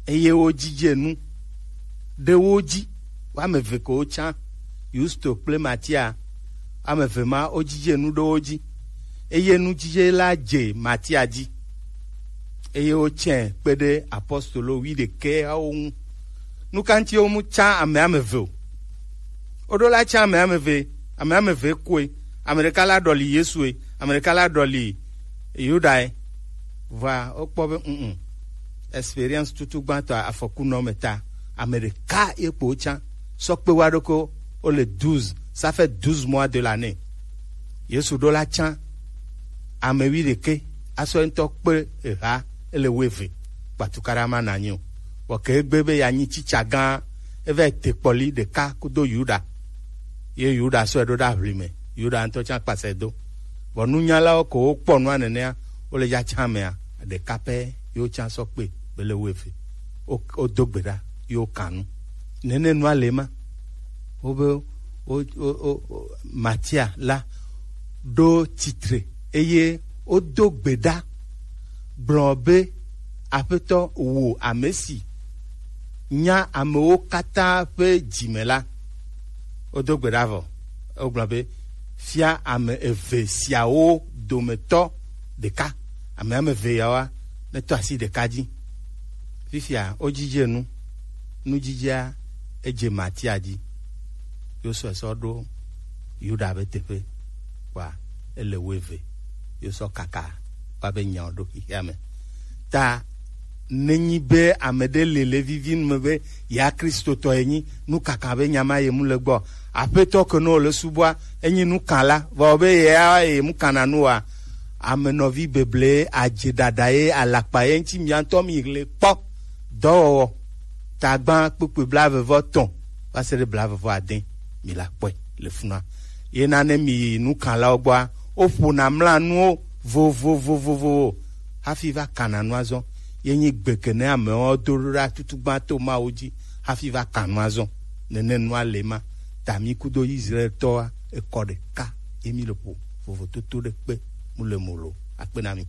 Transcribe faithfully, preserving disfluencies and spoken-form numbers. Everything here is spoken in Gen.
Eye wojije nu ɖe wo dzi. Woame eve ko wotsã, Yusto kple Matia. Woame eve ma wojije nu ɖe wo dzi. Eye nujije la dze Matia dzi. Eye wotsãe kpe ɖe apostolo wuiɖekɛawo ŋu. Nu ka ŋuti womu tsã ame ame eve o? Woɖo la tsã ame ame eve, ame ame eve koe. Ame ɖeka la ɖɔli Yesue, ame ɖeka la ɖɔli Yudae. Vɔa wokpɔ be mm, experience tutu gbãtɔ afɔku nɔ me ta, ame ɖeka ye kpo tsã sɔ kpe wa ɖo ko wole douze, ça fait douze mois de l'année. Yesu ɖo la tsã ame wuiɖekɛ asɔ ŋutɔ kpe eha ele wuieve. Kpatukaɖa ma nanyi o. Vɔ ke egbe be yeanyi tsitsa gã, eva yi te kpɔli ɖeka kudo Yuda. Ye Yuda sɔe ɖo ɖe aʋlime. Yuda ŋutɔ tsã kpasɛ do. Vɔ nunyalawo ko wokpɔ nua nenea, wole ya tsã mea, ɖeka pɛ ye wotsã sɔ kpe be le wuieve. Wo, wodo gbe ɖa ye wokan nu. Nene nua le ma. Wobe wo, wo, wo, wo, Matia la ɖo tsitre eye wodo gbe ɖa gblɔ be, Aƒetɔ, wò ame si nya amewo katã ƒe dzi me la, wodo gbe ɖa vɔ. Wogblɔ be, fia ame eve siawo dometɔ ɖeka, ame ame eve yawoa, netɔ asi ɖeka dzi. Fifia wodzidze nu, nudzidzea edze Matia dzi. Yosua sɔ ɖo Yuda be teƒe, kpɔa ele wuieve. Yosɔ kaka va be nyawo ɖo xexea me. Ta nenyi be ame ɖe le le vivi nu me be ya Kristotɔ ye nyi, nu kaka be nya ma ye mu le gbɔ. Aƒetɔ ke no le subɔa, enyi nu kan la, vɔ be ya ye mu kana nu wa. Ame nɔvi beble adze ɖaɖa ye alakpa ye ŋuti mia ŋutɔ mi le kpɔ. Dɔwɔwɔ, tagbã kpukpui blaeve vɔ tɔn va se ɖe blaeve vɔ ade, mi la kpɔe le funua. Ye na ne mi yi nukanlawo gbɔa, woƒona mlanuwo vovovovovowo hafi va kana nua zɔ. Ye nyi gbe ke ne amewo do ɖo ɖa tutugbã to Mawu dzi hafi va kan nua zɔ. Nene nua le ma. Ta mi kudo Israel tɔa, ekɔ ɖeka ye mi le ƒo vovototo ɖe kpe mu le mo lo. Akpe na mi.